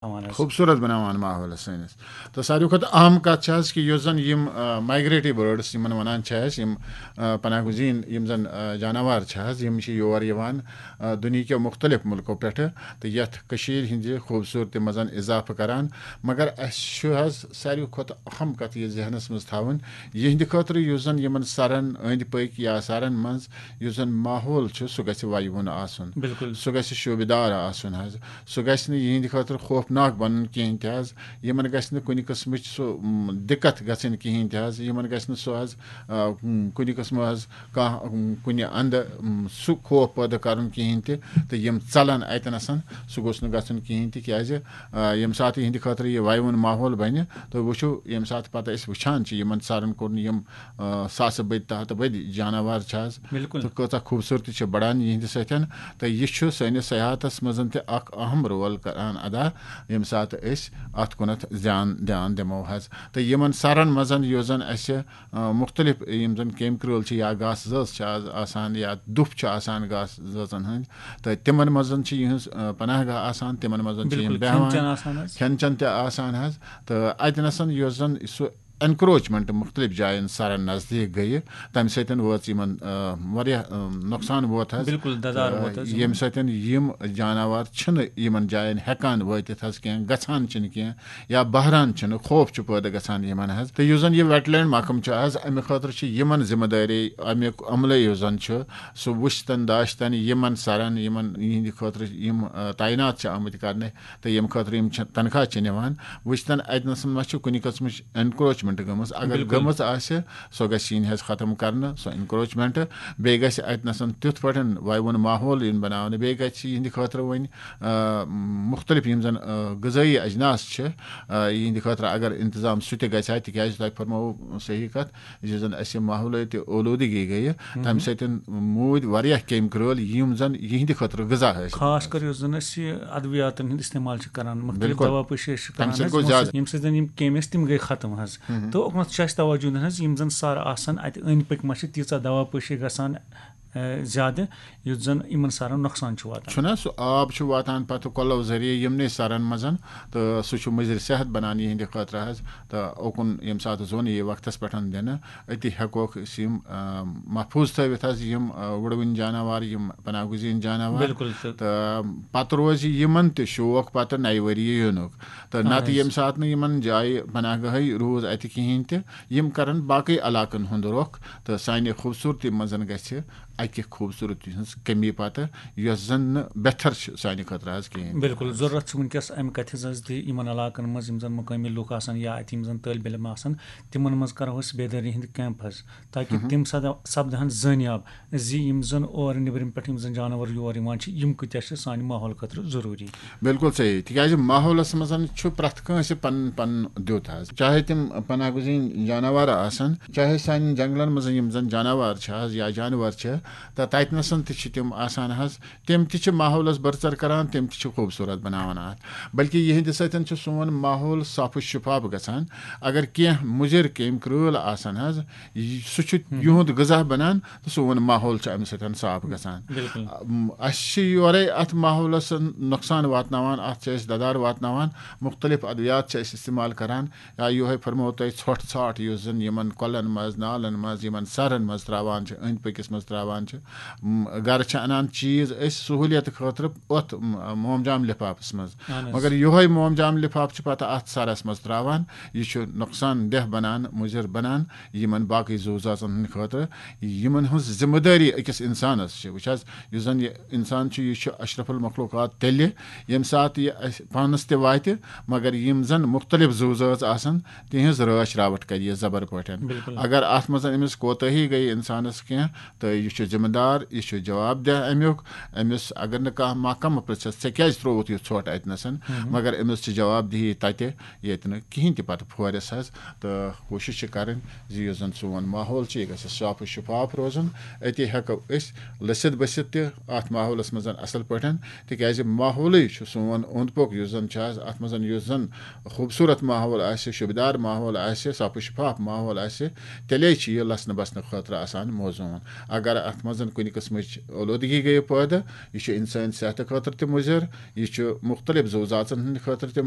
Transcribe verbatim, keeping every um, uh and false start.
تھاوان حظ۔ خوٗبصوٗرت بناوان ماحولس سٲنِس۔ تہٕ ساروی کھۄتہٕ اہم کتھ چھِ حظ کہِ یُس زن یِم مایگریٹری برڈس یِمن ونان چھِ أسۍ، یِم آ، پناہ گزین یِم زن آ، جاناوار چھِ حظ، یِم چھِ یور یِوان آ، دُنیہکیو مختلف ملکو پٮ۪ٹھٕ، تہٕ یتھ کٔشیٖرِ ہٕنٛزِ خوٗبصوٗرتی منٛز اضافہٕ کران۔ مگر اسہِ چھُ حظ ساروی کھۄتہٕ اہم کتھ یہِ ذہنس منٛز تھاوٕنۍ، یِہنٛدِ خٲطرٕ یُس زن یِمن سرن أنٛدۍ پٔکۍ یا سرن منٛز یُس زن ماحول چھُ، سُہ گژھِ وَیوُن آسُن۔ بِلکُل۔ سُہ گژھِ شوٗبِدار آسُن حظ۔ سُہ گژھِ نہٕ یِہنٛدِ خٲطرٕ خوفناک بنُن کِہینۍ تہِ حظ۔ یِمن گژھِ نہٕ کُنہِ قٕسمٕچ سُہ م، دِقت گژھٕنۍ کِہینۍ تہِ حظ۔ یِمن گژھِ نہٕ سُہ حظ آ، م، کُنہِ قٕسمہٕ حظ کانٛہہ م، کُنہِ اندٕ م، سُہ خوف پٲدٕ کرُن کِہینۍ تہِ۔ تہٕ یِم ژلن اتنس، سُہ گوٚژھ نہٕ گژھُن کِہینۍ تہِ، کیازِ آ، ییٚمہِ ساتہٕ یِہنٛدِ خٲطرٕ یہِ وَیوُن ماحول بنہِ، تہٕ وٕچھِو، ییٚمہِ ساتہٕ پتہٕ أسۍ وٕچھان چھِ یِمن سرن کُن، یِم آ، ساسہٕ بٔدۍ تہٕ ہتہٕ بٔدۍ جاناوار چھِ حظ، بِلکُل۔ تہٕ کۭژاہ خوٗبصوٗرتی چھِ بڑان یِہنٛدِ سۭتۍ۔ تہٕ یہِ چھُ سٲنِس سیاحتس منٛز تہِ اکھ اہم رول کران ادا، ییٚمہِ ساتہٕ أسۍ اتھ کُنتھ زیان دھیان دِمو حظ۔ تہٕ یِمن سرن منٛز یُس زن اسہِ آ، مختلف یِم زن کیمۍ کرٛٲلۍ چھِ یا گاسہٕ زٲژ چھِ آز آسان یا دُپھ چھُ آسان گاسہٕ زٲژن ہٕنٛدۍ، تہٕ تِمن منٛز چھِ یِہٕنٛز آ، پناہ گاہ آسان، تِمن منٛز چھِ یِم بِلکُل، کھٮ۪ن بیٚہوان۔ چٮ۪ن آسان حظ۔ کھٮ۪ن چٮ۪ن تہِ آسان حظ۔ تہٕ اتہِ نسن یُس زن سُہ انکروچمنٹ مختلف جاین سرن نزدیک گٔیہِ، تمہِ سۭتۍ وٲژ یِمن آ، واریاہ آ، نۄقصان ووت حظ۔ بِلکُل، دَدار ووت حظ یِمن۔ ییٚمہِ سۭتۍ یِم جاناوار چھِنہٕ یِمن جاین ہٮ۪کان وٲتِتھ حظ کینٛہہ، گژھان چھِنہٕ کینٛہہ، یا بہران چھِنہٕ، خوف چھُ پٲدٕ گژھان یِمن حظ۔ تہٕ یُس زن یہِ ویٹ لینڈ محکمہٕ چھُ حظ، امہِ خٲطرٕ چھِ یِمن ذمہٕ دٲری، امیُک عملہٕ یُس زن چھُ، سُہ وٕچھتن داشتن یِمن سرن، یِمن یِہنٛدِ خٲطرٕ یِم آ، تعینات چھِ آمٕتۍ کرنہٕ، تہٕ ییٚمہِ خٲطرٕ یِم چھِ تنخواہ چھِ نِوان، وٕچھتن اتہِ نسن ما چھِ کُنہِ قٕسمٕچ انکروچمنٹ گٔمٕژ۔ اگر بِلکُل۔ گٔمٕژ آسہِ، سۄ گژھِ یِنۍ حظ ختم کرنہٕ، سۄ انکروچمنٹ۔ بیٚیہِ گژھِ اتہِ نسن تیُتھ پٲٹھۍ وَیوُن ماحول یُن بناونہٕ، بیٚیہِ گژھِ یِہنٛدِ خٲطرٕ وۄنۍ آ، مختلف یِم زن آ، غذٲیی اجناس چھِ، آ، یِہنٛدِ خٲطرٕ اگر انتظام سُہ تہِ گژھِ ہا، تِکیازِ تۄہہِ فرمٲوو صحیح کتھ، یُس زن اسہِ ماحولیٲتی اولوٗدگی گٔیہِ، تمہِ سۭتۍ موٗدۍ واریاہ کیمۍ کرٛٲلۍ، یِم زن یِہنٛدِ خٲطرٕ غذا ٲسۍ۔ خاص کر یُس زن أسۍ یہِ ادویاتن ہُنٛد استعمال چھِ کران، مختلف بِلکُل۔ دوا پٲشی أسۍ چھِ کران تَمہِ سۭتۍ حظ، گوٚو یِمو زیادٕ۔ سۭتۍ، ییٚمہِ سۭتۍ زن یِم کیمۍ ٲسۍ، تِم گٔے ختم حظ۔ تہٕ اوٚکنتھ چھُ اَسہِ توجہ دیُن حظ، یِم زن سر آسن، اتہِ أنٛدۍ پٔکۍ ما چھِ تیٖژاہ دوا پٲشی گژھان، آ، زیادٕ، یُتھ زن یِمن سرن نۄقصان چھُ واتان۔ چھُنہ سُہ آب چھُ واتان پتہٕ کۄلو ذٔریعہٕ یِمنٕے سرن منٛز، تہٕ سُہ چھُ مُضر صحت بنان یِہنٛدِ خٲطرٕ حظ۔ تہٕ اوکُن ییٚمہِ ساتہٕ زوٚن یی وقتس پٮ۪ٹھ دِنہٕ، أتی ہٮ۪کوکھ أسۍ یِم آ، محفوٗظ تھٲوِتھ حظ، یِم آ، وُڑوٕنۍ جاناوار، یِم پناہ گزین جاناوار۔ بِلکُل، تہٕ تہٕ پتہٕ روزِ یِمن تہِ شوق پتہٕ نَیہِ ؤریہِ یِنُک۔ تہٕ اہن نتہٕ حظ۔ ییٚمہِ ساتہٕ نہٕ یِمن جایہِ پناہ گاہٕے روٗز اتہِ کِہینۍ تہِ، یِم کرن باقٕے علاقن ہُنٛد رۄخ، تہٕ سانہِ خوٗبصوٗرتی منٛز گژھِ اکہِ خوٗبصوٗرتی ہٕنٛز کمی پتہٕ، یۄس زن نہٕ بہتر چھِ سانہِ خٲطرٕ حظ کِہینۍ تہِ۔ بِلکُل، ضروٗرت چھِ وٕنکیٚس امہِ کتھِ ہٕنٛز حظ تہِ، یِمن علاقن منٛز یِم زن مقٲمی لُکھ آسن یا اتہِ یِم زن طٲلبِ علم آسن، تِمن منٛز کرو أسۍ بیدٲری ہٕنٛدۍ کیمپ حظ، تاکہِ تِم سد-، سپدہن زٲنیاب زِ یِم زن اورٕ نیٚبرِم پٮ۪ٹھ یِم زن جانور یور یِوان چھِ، یِم کۭتیاہ چھِ سانہِ ماحول خٲطرٕ ضروٗری۔ بِلکُل صحیح، تِکیازِ ماحولس منٛز چھُ پرٛٮ۪تھ کٲنٛسہِ پنُن پنُن دیُت حظ، چاہے تِم پناہ گزین جاناوار آسن، چاہے سانٮ۪ن جنگلن منٛز یِم زن جاناوار چھِ حظ یا جانور چھِ، تہٕ تتہِ نسن تہِ چھِ تِم آسان حظ، تِم تہِ چھِ ماحولس برژر کران، تِم تہِ چھِ خوٗبصوٗرت بناوان اتھ۔ بلکہِ یِہنٛدِ سۭتۍ چھُ سون ماحول صاف و شفاف گژھان۔ اگر کینٛہہ مُضر کیمۍ کرٛٲل آسن حظ، یہِ، سُہ چھُ یِہُنٛد غذا بنان تہٕ سون ماحول چھُ امہِ سۭتۍ صاف گژھان۔ بِلکُل۔ ام، اسہِ چھِ یورے اتھ ماحولس نۄقصان واتناوان، اتھ چھِ أسۍ ددار واتناوان، مختلف ادویات چھِ أسۍ استعمال کران، یا یِہوے فرمو تۄہہِ ژھۄٹھ ژھاٹھ یُس زن یِمن کۄلن منٛز، نالن منٛز، یِمن سرن منٛز تراوان چھِ، أنٛدۍ پٔکِس منٛز تراوان چھِ۔ م، گرٕ چھِ انان چیٖز أسۍ سہوٗلیت خٲطرٕ اتھ، م، مومجام لفافس منٛز۔ اہن حظ۔ مگر یِہوے مومجام لفاف چھُ پتہٕ اتھ سرس منٛز تراوان، یہِ چھُ نۄقصان دہ بنان، مُضر بنان یِمن باقٕے زُو زٲژن ہٕنٛدِ خٲطرٕ۔ یِمن ہٕنٛز ذمہٕ دٲری أکِس انسانس چھِ۔ وٕچھ حظ، یُس زن یہِ انسان چھُ، یہِ چھُ اشرف المخلوقات تیٚلہِ، ییٚمہِ ساتہٕ یہِ اسہِ پانس تہِ واتہِ، مگر یِم زن مختلف زُو زٲژ آسن، تِہنٛز رٲچھ راوٹھ کرِ یہِ زبر پٲٹھۍ۔ بِلکُل۔ اگر اتھ منٛز أمِس کوتٲہی گٔیہِ انسانس کینٛہہ، تہٕ یہِ چھُ ذمہٕ دار، یہِ چھُ جواب دہ امیُک۔ أمِس اگر نہٕ کانٛہہ محکمہٕ پرژھس، "ژےٚ کیازِ ترووُتھ یہِ ژھۄٹھ اتنس؟" مگر أمِس چھِ جواب دہی تتہِ، ییٚتہِ نہٕ کِہینۍ تہِ پتہٕ پھورِس حظ۔ تہٕ کوٗشِش چھِ کرٕنۍ زِ یُس زن سون ماحول چھُ، یہِ گژھِ صاف و شفاف روزُن۔ أتی ہٮ۪کو أسۍ لٔسِتھ بٔسِتھ تہِ اتھ ماحولس منٛز اصل پٲٹھۍ، تِکیازِ ماحولٕے چھُ سون اوٚنٛد پوٚک یُس زن چھُ حظ، اتھ منٛز یُس زن خوٗبصوٗرت ماحول آسہِ، شوٗبدار ماحول آسہِ، صاف و شفاف ماحول آسہِ، تیٚلے چھُ یہِ لسنہٕ بسنہٕ خٲطرٕ آسان موزوٗن۔ اگر اَتھ منٛز کُنہِ قٕسمٕچ اولوٗدگی گٔیہِ پٲدٕ، یہِ چھُ اِنسٲنۍ صحتہٕ خٲطرٕ تہِ مُضِر، یہِ چھُ مُختٔلِف زُو زاژَن ہٕنٛدِ خٲطرٕ تہِ